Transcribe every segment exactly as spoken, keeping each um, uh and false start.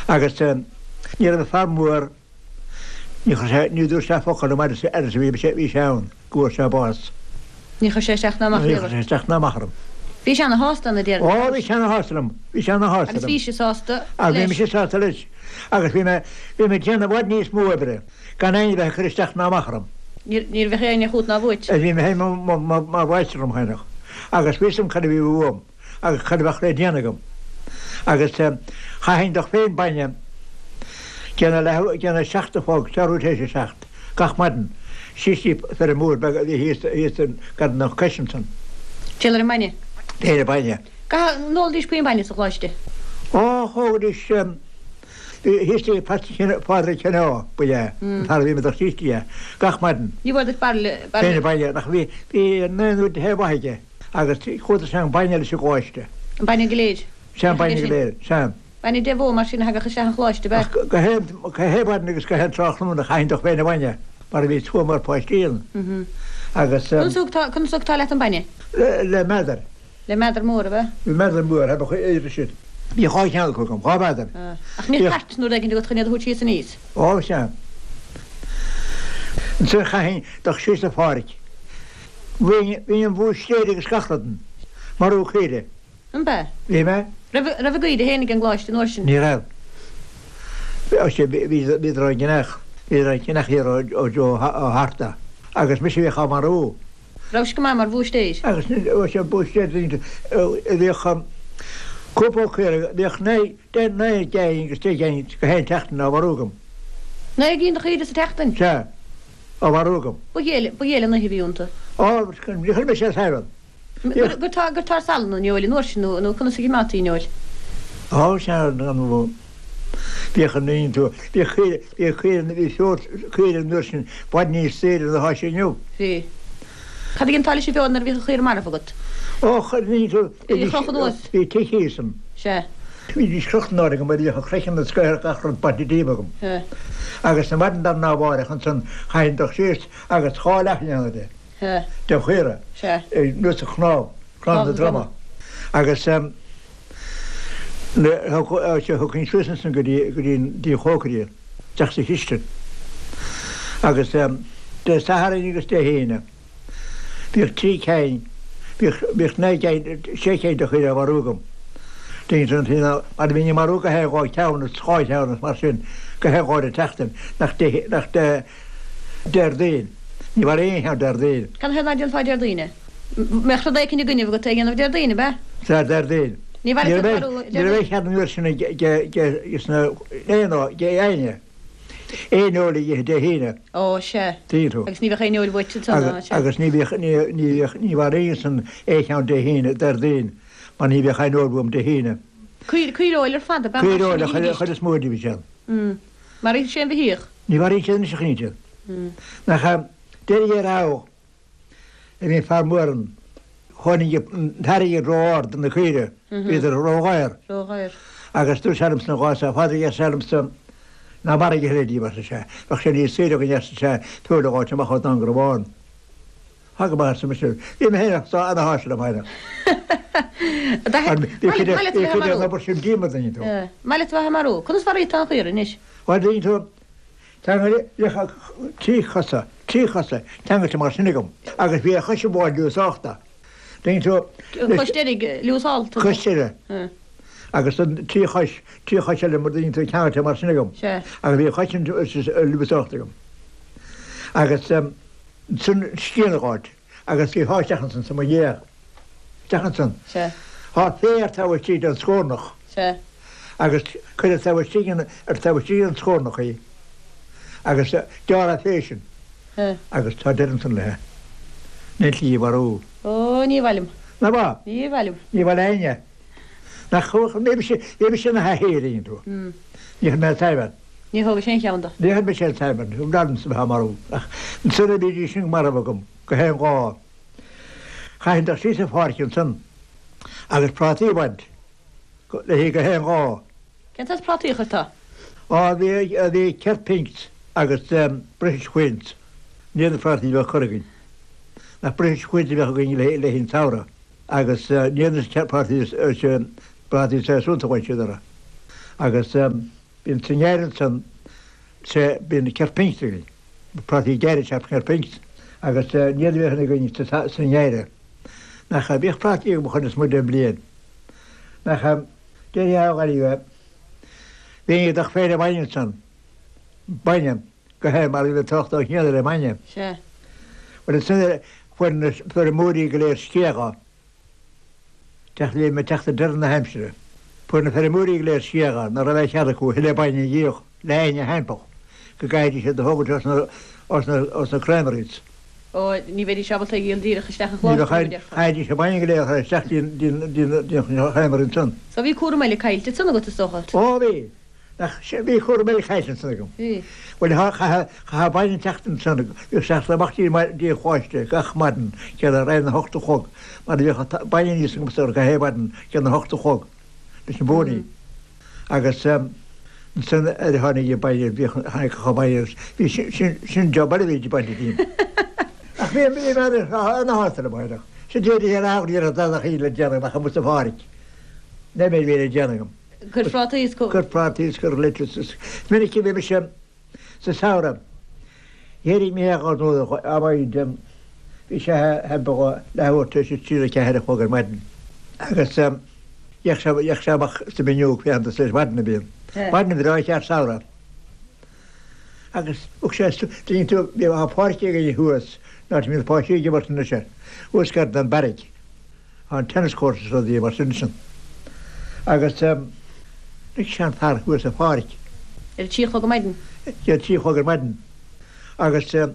Agus ní raibh fear mór ní chuir sé ní dúirt sé focal liom fhad is a bhí sé bhí sé ann go bhfuair sé bás. Ní chuir sé isteach ná amach Ní chuir sé isteach ná amach orm. Bhí sé ana-shásta na déarfainn. Ó bhí sé ana-shásta liom, bhí sé ana-shásta Agus liom. bhí sé sásta Agus bhí leis. mise sásta leis. Agus bhí mé bhí mé ag déanamh i bhfad níos mó oibre gan éinne bheith ag cur isteach ná amach orm. Ní ní bheadh éinne chugat ná uait. Bhí mé féin mar mháistir orm féineach. Agus bhí a fhios agam cad a bhí uaim agus cad a bheadh le déanamh agam. Agus chaithfinn dul féin bainne déanamh le déanamh seacht a chlog, ceathrú tar éis a seacht, gach maidin, síos dtí feirm mhór beag a bhí thíos thíos gar don chois ansan. Téal ar an mbainne. Téal ar bainne. Ga n-ólaidís puinn bainne sa choláiste. Ó thógaidís thíos dtí Pádraig Ceanná ba ea an fear a bhí mé dul síos dtí é gach maidin. Ní bhfuair duit bairille Féin bainne nach bhí bhí naoi nó deich mhaith aige agus chuadar sé an bainne leis an gcoláiste. An bainne go léir. Sé an bainne go léir, sé. Bainne de bhó mar sin a thagadh isteach an choláiste be. Ach go haon go haon mhaidin agus go haon tráthnóna chaithfinn dul féin a bhainne mar a bhí slua mór páistí ann. Agus Conas conas tá leat an bainne? le le meadar. Le meadar mór a bheith? Bhí meadar mór a bheadh sin. Bhí dhá cheann acu agam, dhá mheadar. Ach ní cairt nuair éigin agat chun iad a thabhairt síos aníos. Ó sea. Ansin chaithfinn dul síos sa pháirc. Bhí bhí an bhúistéir agus gach rud ann. Marú caoire. An b'ea? Bhí mé. Raibh raibh a gcaoire féin ag an gcoláiste an uair sin? Ní raibh. Bhí bhí bhíodar á gceannach, bhíodar á gceannach thiar ó ó Joe ó Harta. Agus mise a bhíodh á marú. Raibh sé go maith mar bhúistéir. Agus ó sé búistéir bhíodh cúpla caora, bhíodh naoi deich naoi gcinn agus deich gcinn go haon tseachtain á mharú agam. Naoi gcinn de chaoire sa tseachtain? Sea, á mharú agam. Ba ghéile ba ghéile an oíche a bhí iontu. Ó, ní chuir mise ar saibhrean. Gur tá gur tá salann an fheoil an uair sin nó nó conas a choimeádtaí an fheoil? Ó sea, an bhíodh an aon tú, bhíodh caoire bhíodh caoire bhí feoil caoire an uair sin i bhfad níos saoire ná atá sé inniu. Bhí. Cad a dhéantá leis an bhfeoil nuair a bhíodh an chaora marbh agat? Ó, chuir ní tú Bhí chroch anuas. Bhí tigh thíos ann. Sea. Bhídís crochta in airde agam mar bhíodh an craiceann is gach rud bainte díobh agam. Sea. Agus na maidin darna mháireach ansan chaithfinn dul síos agus dhá leath a dhéanamh de. Sea. Den chaora. Sea. Anuas an chnámh, cnámh na droma. Agus thugfainn suas ansan go dtí go dtí dtí an chócaire, isteach sa chistin. Agus Dé Sathairn agus Dé hAoine bhíodh trí cinn, bhíodh bhíodh naoi gcinn, sé cinn de chaoire á mharú agam. Déantar an t-aon mar a bhínn ag marú go haon dhá cheann is dhá cheann is mar sin go haon dhá an tseachtain nach Dé nach Dé Déardaoin. Ní mharaíonn aon cheann Déardaoin. Cad chuige nach ndéanfá Déardaoin é? Mbeadh rud éicint i gcoinnibh agat é a dhéanamh Déardaoin, ab ea? Sea, Déardaoin. Ní Ní mhairfeadh raibh marú ní raibh aon chead an uair sin ag ag sna aon ag éinne aon fheoil a ithe Dé hAoine. Ó, sea. Tuigeann tú. Agus ní bheadh aon fheoil uait ansan, Agus sea. agus ní bhíodh ní ní bhíodh ní mharaíonn san aon cheann Dé hAoine Déardaoin mar ní bheadh aon fheoil uaim Dé hAoine. Caoire caoireoil ar fad ab ea mar Caoireoil sin a a chuid dh'ithidís. chuid is mó díobh sin. Mm. Maraíodh sé an bheithíoch. Ní mharaíonn siad anois a chinnte. Mm. Nach deireadh ar aghaidh a bhí fear mór ann. Tháinig an t-airgead ró-ard do na caoire, bhíodar ródhaor. Ródhaor. Agus dúirt sé liomsa ná sea, a Phádraig, arsa sé liomsa, ná maraigh a thuilleadh díobh, arsa sé. Bheadh sé níos saoire againn, arsa sé, feoil a dh'fháilt amach ó Dangrabhán. Tá go maith, arsa mise. Bhí mé féin ana-shásta liom féin. Maith Bhí leat a bheith cuid den marú. obair sin díom, a dtuigeann tú. Maith leat a bheith marú. Conas maraíodh tú an chaora anois? Bhuel, a dtuigeann tú, ceangal bhíodh trí chosa, trí chosa ceangailte mar sin agam agus bhí a chois amháin liúsálta. Tuigeann tú, An chois deiridh liúsálta. Cois deiridh. Agus an trí chois, trí chois eile mar dtuigeann tú ceangailte mar sin agam. Sea. Agus bhí a chois sin liúsálta agam. Agus ansan scian a dh'fháilt agus bhí dhá isteach ansan sa mo dhiaidh. Isteach ansan. Sea. Thá féar taobh istigh den scornach. Sea. Agus cuireadh taobh istigh ar taobh istigh den scornach í agus gearradh fé sin agus tá deireadh ansan léithe. Níl slí mharú. Ó, ní mhaith liom. Ná ba? Ní mhaith liom. Ní mhaith le éinne. Nach ní mise ní mise na haithí a dhéanann tú. Ní chuir mé an tsaidhbhean. Ní thógfaidh sé aon cheann de. Ní chuir mise an tsaidhbhean. Thug liomsa bheith á marú. Ach ansan a bhídís sin marbh agam go haon dhá. Chaithfinn dul síos an pháirc ansan agus prátaí a bhaint léi go haon dhá. Cén saghas prátaí a chuirteá? Á, bhí bhí Kirk Pinks agus British Queens. Ní na prátaí a bheadh curtha againn. Nach British Queens a bheadh againn le le an samhradh agus ní na prátaí prátaí séasúnta a bhain siad orthu. Agus Bíonn sa ngeimhreadh ansan sea bíonn ceithre pingint againn. Prátaí geimhridh sea ceithre pingint agus ní a bhíonn againn sa ngeimhreadh. Nach bhíodh prátaí agam chun is muide an bliain. Nach déarfá a Ghaillimhe bhí dach féile bainne ansan. Bainne go hé mar bhí tocht ó chiall le bainne. Sea. Bhuel ansin fuair na feirmeoirí go léir sciathgha. Teacht le me teacht deireadh na haimsire. Fuair na feirmeoirí go léir sciathgha nach raibh cead acu a thuilleadh bainne a dhíol le éinne thimpeall go gcaithfidís iad a thógaint os na os na os na creameries. Ó, ní bheidís ábalta a dhíol díreach isteach an Ní chlós, bheadh a déarfá. chaithfidís an bainne go léir a chur isteach dtí dtí dtí dtí an chreamery ansan. So bhí cúram eile caillte ansan agat is dócha. Ó bhí. Nach bhí cúram eile caillte ansan agam. Bhí. Bhuel chaithfeadh bainne teacht ansan bhíodh sé amach dtí dtí an choláiste gach maidin céad ar a hocht a chlog mar bhíodh bainne aníos agam gach aon mhaidin céad a hocht a chlog leis an bpónaí. Agus ansan ar tháinig an bainne bhíodh tháinig an bainne bhí sin sin sin job eile a bhí bainte díom. Ach bhí bhí mé ana-shásta le bainne. Sin déarfaidh ar aon iarraidh dada le déanamh ach amuigh sa pháirc. Ní mé bhí le déanamh agam. Cur prátaí is Cur prátaí is cur lettuce. Is minic a bhí mise sa samhradh. Dhéirigh mé dhá nuair a bhaid bhí sé thimpeall leathuair tar éis a trí nó ceathair a chlog ar maidin. Agus dheich sé dheich sé amach sa bhfuinneog féachant leis maidin a bhíonn. Maidin bhreá cheart samhradh. Agus thug sé dtuigeann tú bhí a páirc againn thuas ná bhí na páistí ag imirt anois air. Thuas gar don beairic. An tennis court is rudaí mar sin sin. Agus lig sé an fear thuas sa pháirc. Ar a trí a chlog ar maidin. Ar a trí a chlog ar maidin. Agus chan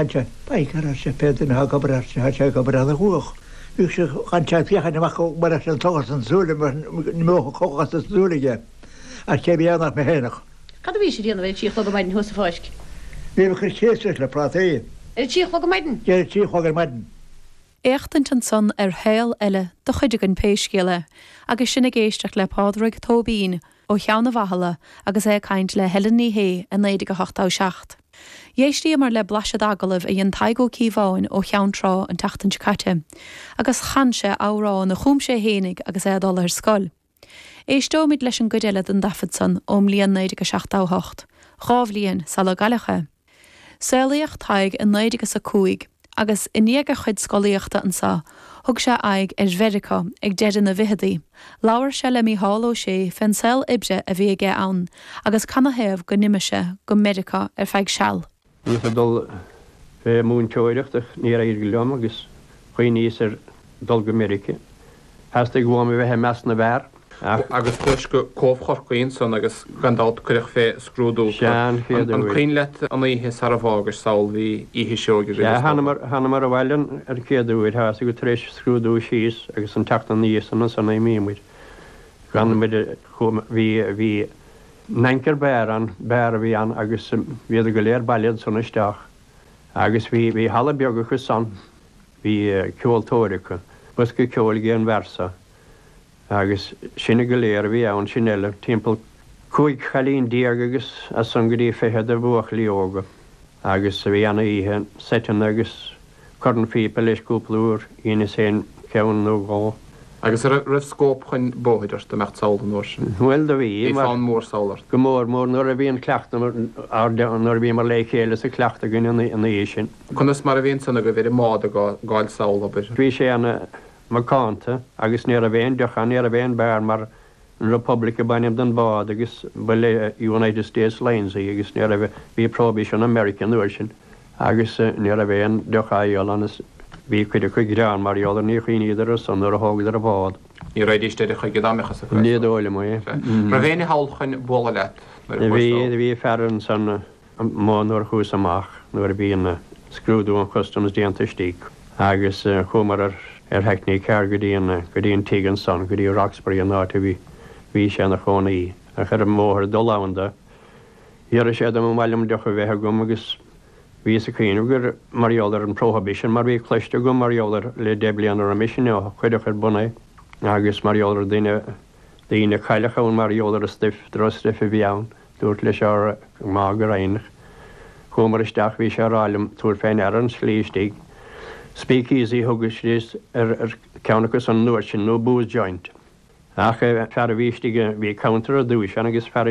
sé ba sé pé duine ag obair ar sé sé ag obair ana chumhach. Bhí sé chan sé féachaint amach mar leis an tochas an súile ní mó chochas an súile aige. Ach cé bhí nach mé fhéineach. Cad a bhí sé ag déanamh ar a trí a chlog ar maidin thuas sa pháirc? Bhí mé cur céasach le prátaí. Ar a trí a chlog ar maidin? Ar a trí a chlog ar maidin. Éachtaint ansan ar shaol eile do chuid againn pé scéal é, agus sinn ag éisteacht le Pádraig Tóibín ó Cheann na bhFathala agus é ag caint le Helen Ní Shé i naoi déag a hochtó seacht. D'éistíomar le blaiseadh d'agallaimh a dhein Tadhg Ó Cíobháin ó Cheann Trá an tseachtain seo caite, agus chan sé amhrán a chum sé fhéinig agus é ag dul ar scoil. Éisteoimid leis an gcuid eile den taifead san ón mbliain naoi déag a seachtó hocht, dhá bhliain sula gcailleadh é. Saolaíodh Tadhg i naoi déag is a cúig, agus i ndiaidh a chuid scolaíochta anseo, thug sé aghaidh ar Mheiriceá ag deireadh na bhfichidí. Labhair sé le Mícheál Ó Sé fén saol oibre a bhí aige ann agus canathaobh go n-imigh sé go Meiriceá ar feadh seal. Bhíos ag dul fé múinteoireacht ach níor éirigh liom agus chuimhníos ar dul go Meiriceá. Theastaigh uaim a bheith i measc na bhfear. Ach. Agus chuais go Cóbh Chorcaí ansan agus gan dabht cuireadh fé scrúdú Sea, an chéad An uair. cuimhin leat an oíche sara bhfágais sall bhí oíche seoigh agaibh Sea, is dócha. thánamar, thánamar abhaile an chéad uair, tá fhios agat tar éis scrúdú síos agus an tseachtain ina dhiaidh san ansan a imíomar. Gan muid, chuamar, bhí, bhí Anchor Bar ann, beár a bhí ann agus bhíodar go léir bailithe ansan isteach agus bhí, bhí halla beag acu san, bhí ceoltóir acu, bosca ceoil ag an bhfear so. Agus sinne go léir a bhí ann, sin eile, timpeall cúig chailín déag agus as san go dtí fiche de bhuachaillí óga. Agus bhí ana-oíche, seiteanna agus cornphíopa leis cúpla uair, dheineas féin ceann nó dhó. Agus an raibh scóip chun bóthair ort ag imeacht sall an uair sin? Bhuel, do bhí, Bhí mar fonn mór sall ort. Go mór mór nuair a bhí an cleachtadh, nuair a bhíomar le chéile sa chleachtadh againn ina dhiaidh sin. Conas mar a bhí ansan agaibh ar an mbád ag gabháil sall, abair? Bhí sé ana macánta agus ní raibh aon deoch ann, ní raibh aon beár mar an Republic ab ainm don bhád agus ba le United States Lines í agus ní raibh, bhí prohibition i Meiriceá an uair sin agus ní raibh aon deoch á dhíol ann is bhí cuid acu ag gearán mar gheall ar níor chuimhníodar ar san nuair a thógadar an bád. Ní raghaidís deireadh chuige dá mbeadh fhios acu. Ní dóigh liom é. Raibh éinne thall chun bualadh leat nuair a Bhí, chuas thall? bhí fear ansan amuigh nuair a chuas amach nuair a bhí an scrúdú an customs déanta istigh agus chuamar ar ar hackney car go dtí an go dtí an tigh ansan, go dtí Roxbury an áit a bhí bhí sé ina chónaí. Ach ar an mbóthar dul ann do, d'iarr sé dom an mhaith liom deoch a bheith agam agus bhíos ag cuimhneamh gur mar gheall ar an prohibition mar bhí cloiste agam mar gheall ar le deich bliana roimis sin ó cuireadh ar bun é agus mar gheall ar duine daoine a cailleadh ann mar gheall ar an stuif, drochstuif a bhí ann. Dúrt leis ár má go raghainn. Chuamar isteach, bhí sé ag rá liom tabhair fé ndeara an tslí istigh. Speakeasy thug siad ar ar ceann acu san uair sin nó booze joint. Ach fear a bhí istigh, bhí counter ar dtús ann agus fear